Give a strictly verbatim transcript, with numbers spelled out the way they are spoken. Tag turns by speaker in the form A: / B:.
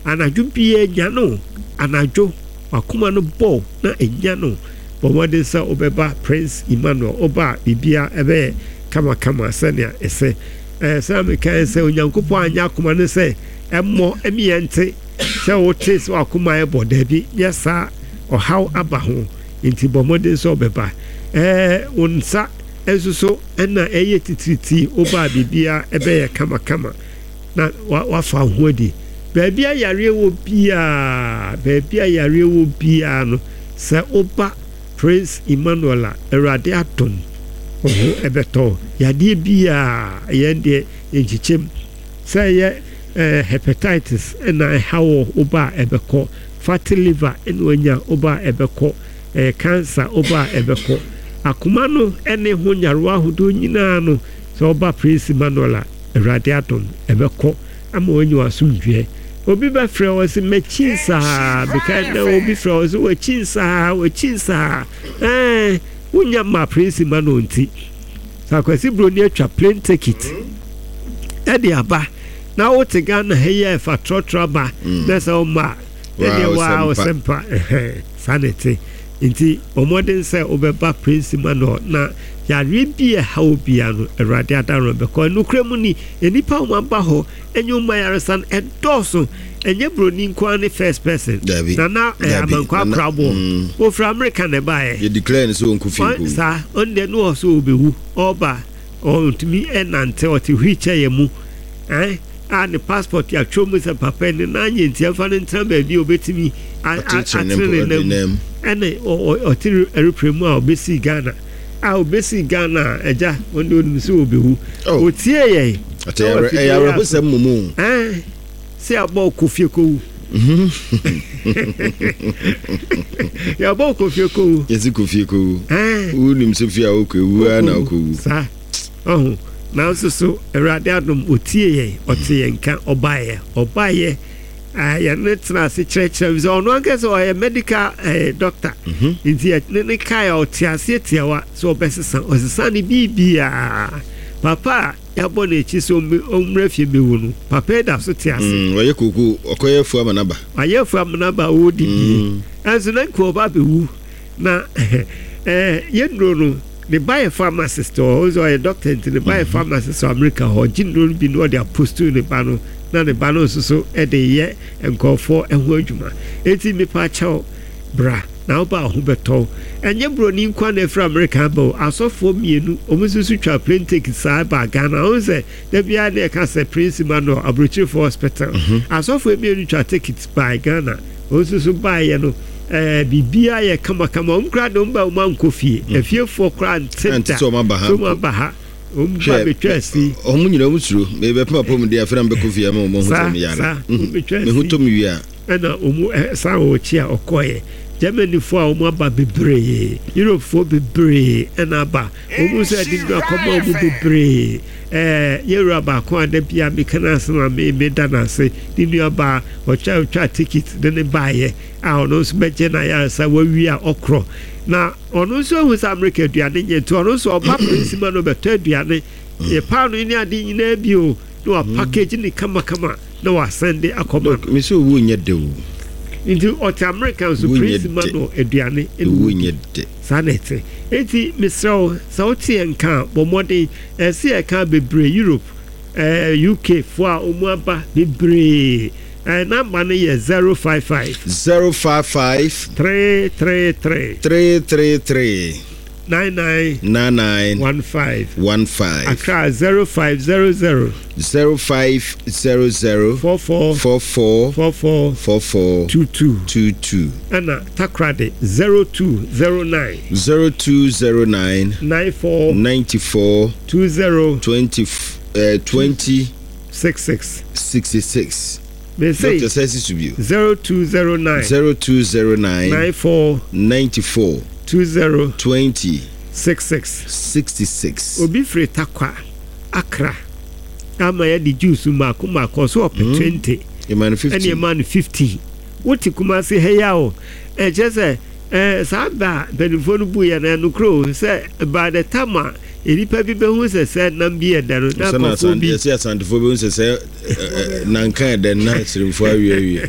A: Anadwo biara nya no, anadwo wakoma no bɔ na ɛnya no, bɔ mmɔden sɛ wobɛba Prince Emmanuel. Woba a, biribia ɛbɛyɛ kamakama sɛnea ɛsɛ. ɛɛ sɛ mekae sɛ Onyankopɔn anyɛ akoma no sɛ ɛmmɔ ɛmiɛ nte sɛ wote sɛ wakoma ɛbɔ. Daabi, nyɛ saa, ɔhaw aba ho. Nti bɔ mmɔden sɛ wobɛba. ɛɛ wo nsa nso so ɛna ɛyɛ titiritii, woba a, biribia ɛbɛyɛ kamakama na wafa wo ho adi. Baabi a yareɛ wɔ biara, baabi a yareɛ wɔ biara no, sɛ woba Prince Emmanuel a, Awurade adom, wo ho ɛbɛtɔ. Yadeɛ biara, yɛn deɛ nkyekyɛm sɛ ɛyɛ ɛɛ hepatitis ɛna ɛha wɔ, woba a, ɛbɛkɔ. Fatty liver ɛna wanya, woba a, ɛbɛkɔ. ɛɛ cancer, woba a, ɛbɛkɔ. Akoma no ɛne ho nyarewa ahodoɔ nyinaa no, sɛ woba Prince Emmanuel a, Awurade adom, ɛbɛkɔ ama wanya w'asomdwoeɛ. Obi bɛfrɛ wɔ sɛ makyi nsaa bika na obi frɛ wɔ sɛ wakyi nsaa, wakyi nsaa, ɛɛ wonya ma Prince Emmanuel. Nti sɛ Akwasi Buroni atwa plane ticket ɛde aba na wote Ghana ha yi a, ɛfa trɔtrɔ aba na sɛ woma a, ɛdeɛ waa wo sɛ mpa saa na ɛte. Nti ɔmmɔden sɛ wobɛba Prince Emmanuel na yareɛ bi a ɛha wo bia no, Awurade adaro bɛkɔ. Nokora mu ni, nnipa a wɔaba hɔ ɛnyɛ ɔma yaresa no ɛdɔɔso. Ɛnyɛ Buroni nko ara ne first person.
B: Dabi.
A: Nana ɛɛ
B: Dabi.
A: Amankwa
B: Nana,
A: Akoraboɔ
B: mm.
A: ofiri Amerika na ɛbaeɛ.
B: Yɛ declare no sɛ ɔnkɔ fie
A: Ɔn-
B: nkɔwu.
A: Saa ɔno deɛ no wɔ so ɔbɛwu. Ɔba, ɔntumi ɛnante, ɔte wheelchair yɛ mu ɛn a ne passport yɛatwerɛ mu sɛ papa yi ne nan nyɛ, nti ɛmfa no ntena baabi a ɔbɛtumi a- a-
B: Atenetene ne
A: atene ne
B: mpo-
A: nam.
B: ne nam.
A: Ɛne ɔ- ɔ- ɔte aeroplane mu a ɔbɛsii Ghana a ɔbɛsii Ghana a, agya, ɔno deɛ ɔnim sɛ ɔbɛwu.
B: Oh.
A: Ɔtie yɛn.
B: Ate ɛyɛ ɛyɛ awerɛhosɛm mmom o.
A: Ɛn sɛ yɛabɔ kofie kɔwu, yɛabɔ kofie kɔwu.
B: Yɛsi kɔ fie kɔwu.
A: Ɛn
B: wonim sɛ fie a wokɔ ewu ara na wokɔwu.
A: Saa ɔho. Nanso so Awurade adom, ɔtie yɛn, ɔte yɛn nka, ɔbaeɛ ɔbaeɛ ah, yɛne tena ase kyerɛkyerɛ m sɛ ɔno ankasa ɔyɛ medical eh, doctor.
B: Mhm.
A: Nti yɛne ne kae a, ɔte aseɛ tiawa sɛ ɔbɛsesa, ɔsesa ne biribiaa. Papa a yɛabɔ n'akyi sɛ ɔmmɛ- ɔmmra fie bɛwu no, papa yi da so te ase.
B: Mm, ɔyɛ koko, ɔkɔyɛ afu ama naba.
A: Wayɛ afu amanaba a ɔredi bie.
B: Mm.
A: Ɛnso na nka ɔba bɛwu na ɛɛ yɛnnuro no, ne ba yɛ pharmacist. Ɔ ɔsɛ ɔyɛ doctor, nti ne ba yɛ pharmacist wɔ America hɔ. Ɔgye nnuro no bi na ɔde apostu ne ba no, na ne ba no nso so ɛde yɛ nkɔɔfoɔ ho adwuma. Eti nipa akyɛw, bra na woba, ho bɛtɔw. Ɛnyɛ Buroni nkwa na ɛfiri America aba o. Asɔfoɔ mmienu, wɔn nso so twa plane ticket saa ba Ghana. Wɔn sɛ da biara ne ɛka sɛ Prince Emmanuel aburokyirefoɔ hospital. Asɔfoɔ mmienu twa ticket ba Ghana, wɔn nso so baeɛ no, ɛɛ biribiara yɛ kamakama. Wɔn koraa de wɔn ba, wɔn ankɔ fie. Efiefoɔ koraa nte
B: Ante
A: da
B: sɛ wɔn aba ha
A: sɛ wɔn
B: mpo.
A: Aba ha, wɔn ba bɛtwa asi.
B: Ɔmo nyina ɔmo suro mebɛpem apɔm de afei na mebɛkɔ fie ama ɔmo ho
A: Saa,
B: sɛ meyare.
A: saa,
B: Mhm.
A: wɔbɛtwa
B: Me ho
A: asi.
B: tɔ me wie a.
A: Ɛna wɔn ɛ san wɔ akyi a ɔkɔɛ. Germanyfoɔ a wɔn aba bebree, Europefoɔ bebree ɛna aba. Wɔn nso ɛde nnuro akɔma wɔn bebree. ɛɛ yɛwura baako a da bia meka n'asɛm a me me da n'ase, ne nua baa ɔtwa ɔtwa ticket de ne baayɛ a, ɔno nso bɛgye n'ayaresa wawie a ɔkorɔ. Na ɔno nso ehu sɛ Amerika aduane nyɛ, nti ɔno nso ɔba Prince ma no bɛtɔ aduane yɛ paano ne ade nyinaa bi o, na wa package ne kamakama na wasan de akɔma no.
B: Look, me sɛ owu nyɛ de o.
A: Nti ɔte Amerika nso
B: Owu nyɛ
A: Prince ma
B: de.
A: no aduane ɛna
B: Owu
A: ɔdi.
B: nyɛ de.
A: Saa na ɛte. Enti mesrɛ wo, sɛ wote yɛn nka a, bɔ mmɔden. Ɛsɛ yɛka bebree, Europe, ɛɛ U K foɔ a wɔn aba bebree. ɛɛ number no yɛ zero five five
B: zero five five
A: three three three
B: three three three
A: nine nine
B: nine nine
A: one five.
B: one five.
A: Accra, zero five zero zero
B: zero five zero zero
A: four four
B: four four
A: four four
B: four four
A: two two.
B: two two.
A: Ɛna Takoradi, zero two zero nine
B: zero two zero nine
A: nine four
B: ninety-four
A: two zero
B: twenty uh, twenty
A: six six.
B: sixty-six.
A: Mese
B: Doctor Sɛsi Subio.
A: zero two zero nine
B: zero two zero nine
A: nine four
B: ninety-four
A: two zero
B: twenty
A: six six.
B: sixty-six.
A: Obi firi Takwa, Accra, ama yɛde juice mmaako mmaako ɔso ɔpɛ twenty.
B: Ɛma no
A: ɛne
B: fifteen.
A: Ɛma no fifteen. Wote Kumase ha yi a o, ɛkyerɛ sɛ ɛɛ saa ba a mpanimfoɔ no bu yɛ no, ɛnokorɛ o, sɛ by the time a nnipa bi bɛhu sɛ sɛ nam bi yɛ dɛ no na
B: sɛ na
A: nkurɔfoɔ bi
B: yɛsɛ Asantefoɔ bɛhu sɛ sɛ ɛ, ɛ, nanka ɛdɛ na Asirimfoɔ awie awie.